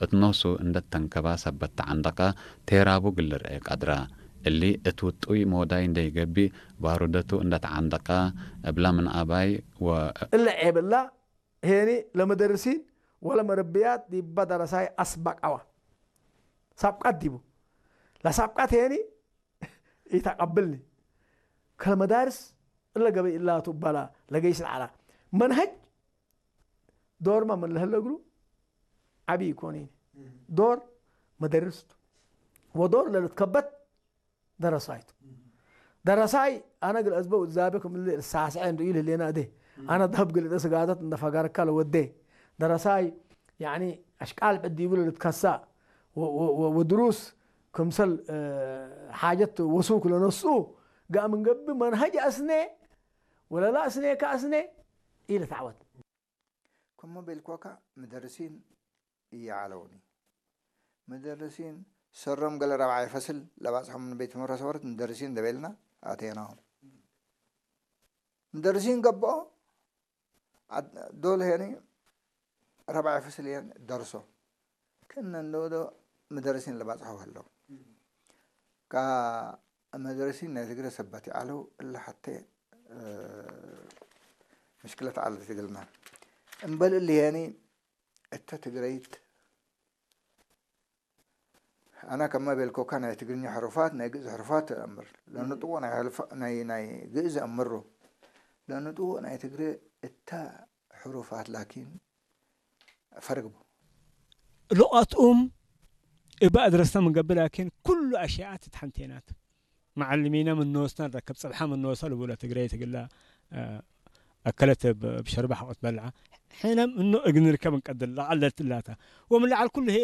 እትኖሱ እንደተንከባ ሰበት ተዓንደቃ ቴራቡ ግልርኤ ቀድራ። እሊ እት ውጡይ ሞዳይ እንደይገቢ ባሩደቱ እንደተዓንደቃ እብላ ምን ኣባይ ወ- እለ ዔብላ ሄኒ ለመደርሲን ወለመረብያት ዲባ ደረሳይ አስባቃዋ ሳብቃት ዲቡ ለሳብቃት ሄኒ ኢተቀብልኒ ከለመዳርስ እለ ገበይ እላቱ እባላ ለገይስ ለዓላ መንሀጅ ዶርማ ምን ለህለ እግሩ ዓቢ ይኮን ዶር መደርስ ቱ ወዶር ለልትከበት ደረሳይ ቱ ደረሳይ አነ ግል አዝበው ዛቤ ክምል ሳስዐ እንዱ ኢል ህሌና እዴ አነ ዳብ ግልጠ ስጋደት እንደ ፈጋርካ ለወዴ ደረሳይ ያኒ አሽቃል ዕዲቡ ለልትከሳ ወድሩስ ክምሰል ሓጀት ወሱክ ለነስኡ ጋእ ምን ገብእ መንሀጅ አስኔ ወለላ አስኔ ከአስኔ ኢለ ተዓወት ከሞ ቤልኮካ ምደርሲን እየዓለውኒ ምደርሲን ሰሮም ገለ ረብዓይ ፈስል ለባጽሖም ንቤት ትምህርት ሰወረት ምደርሲን ደቤልና ኣቴናዎም ምደርሲን ገባኦ ዶል ሄኒ ረብዓይ ፈስል የን ደርሶ ክነንዶ ምደርሲን ለባጽሖ ከለው ካ መደረሲን ናይ ትግረ ሰባት ይዓለው እለ ሓተ ምሽክለት ዓለ ትግልና እምበል እሊ ሄኒ እተ ትግረይት ኣና ከማ ቤልኮካ ናይ ትግርኛ ሕሩፋት ናይ ግእዝ ሕሩፋት እምር ለንጥዎ ናይ ግእዝ እምሩ ለንጥዎ ናይ ትግረ እታ ሕሩፋት ላኪን ፈርግቡ ሉቓትኡም እባ ኣድረስና ምንገብር ላኪን ኩሉ ኣሽያኣት ትሓንቴናት መዓልሚና ምንወስና ንረከብ ፅብሓ ምንወሳ ልቡለ ትግራይ ትግላ ኣከለት ብሸርባ ሓቆት በልዓ ሕነ ምኖ እግንርከብ እንቀድል ለዓለት ላታ ወምለዓል ኩሉ ሄ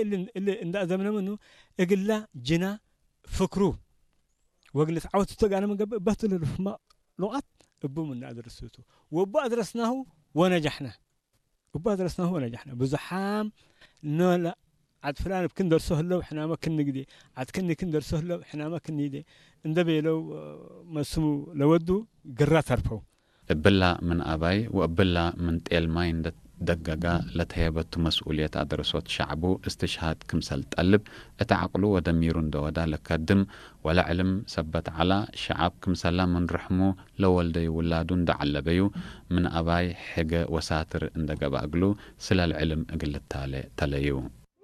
እንዳ ዘምነ ምኑ እግላ ጅና ፍክሩ ወግልት ዓወት ተጋነ ምንገብር በትሉ ልፍማ ሉቓት እቡ ምና ኣድረስቱ ወቡ ኣድረስናሁ ወነጃሕና እባ ድረስናሁ ወነጃሕና ብዙሓም ኖላ ዓድ ፍላን ብክን ደርሶ ህለው ሕናመ ክንግዴ ዓድ ክኒ ክን ደርሶ ህለው ሕናመ ክንይዴ እንደ ቤለው መስሙ ለወዱ ግራ ተርፈው። እብላ ምን ኣባይ ወእብላ ምን ጤል ማይ እንደ ደገጋ ለተሄበቱ መስኡልየት ኣደረሶት ሸዕቡ እስትሽሃድ ክምሰል ጠልብ እት ዓቅሉ ወደሚሩ እንደ ወዳ ለከድም ወለ ዕልም ሰበት ዐላ፣ ሸዓብ ክምሰላ ምን ርሕሙ ለወልደዩ ውላዱ እንደ ዐለበዩ፣ ምን አባይ ሕገ ወሳትር እንደ ገብአ እግሉ፣ ስለል ዕልም እግል ልታለ ተለዩ።